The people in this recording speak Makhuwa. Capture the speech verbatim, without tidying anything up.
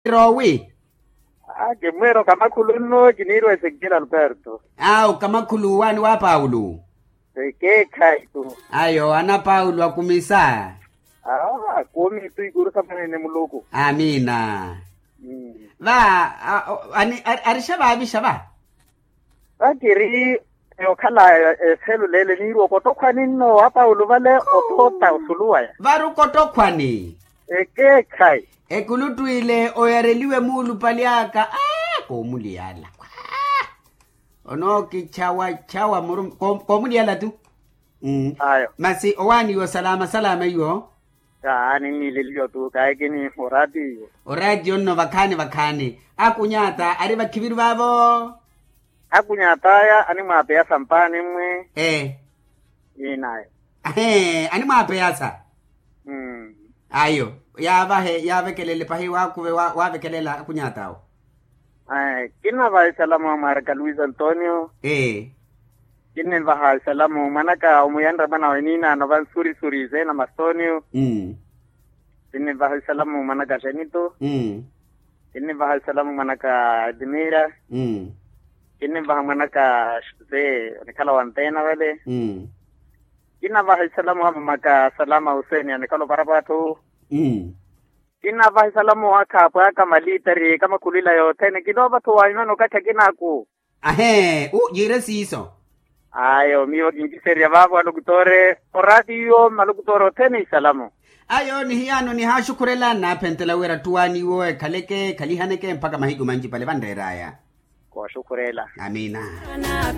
Rowi. Kimmwira okamakhulu nno kiniirwa esekiela alberto. Awo kamakhulu waani wa paulo. Ekeekhayi tu. Ayo ana paulo akumisa. Awo akumi tu ikuru samanene muluku. Amiina. Va. Arixa vaavixa va. Vakiri okhala eselulele niiri okottokhwani nno wa paulo vale ototta osuluwaya. Vari okottokhwani. Ekeekhayi. Ekuluttwile oyareliwe muulupali aka. Koomuliyala. Onookichawachawa muru koomuliyala tu. Masi owaaniwa salama salama iwo. Kaani nniileliwa tu kaekini. Oratiyo. Oratiyo nno vakhaani vakhaani. Akunyata ari vakhiviru vaavo. Akunyat'aya animwaapeyasa mpaani mmwe. Ee. Iinayo. Ahee animwaapeyasa. Ayo. Yaavahe yaavekelele pahi waakuve waavekelela akunyat'awo. Kinnavaha isalamu a mwaraka luis antonio. Ee. Kinnimvaha isalamu mwanaka omuyanre mwana weniinaano vansurisuri zeena mastonio. Kinnimvaha isalamu mwanaka janito. Kinnimvaha isalamu mwanaka edmira. Kinnimvaha mwanaka jose onikhala wa mpena vale. Kinnavaha isalamu wa mamaka salama huseni anikhala oparapatthu. Kinnavaha isalamu wa khaapwaka malitari kamakhulwila yothene kinoovatthu waimana okathi akinaaku. Ahee u yiire siiso. Ayo miyo kinkiserya vaavo alokutore oratiyo malokutore othene isalamu. Ayo nihiyaano nihaaxukhurela nnaaphentela wira ttuwaani iwo ekhaleke ekhalihaneke mpakha mahiku manci pale vanreer'aya. Kooxukhurela. Amiina.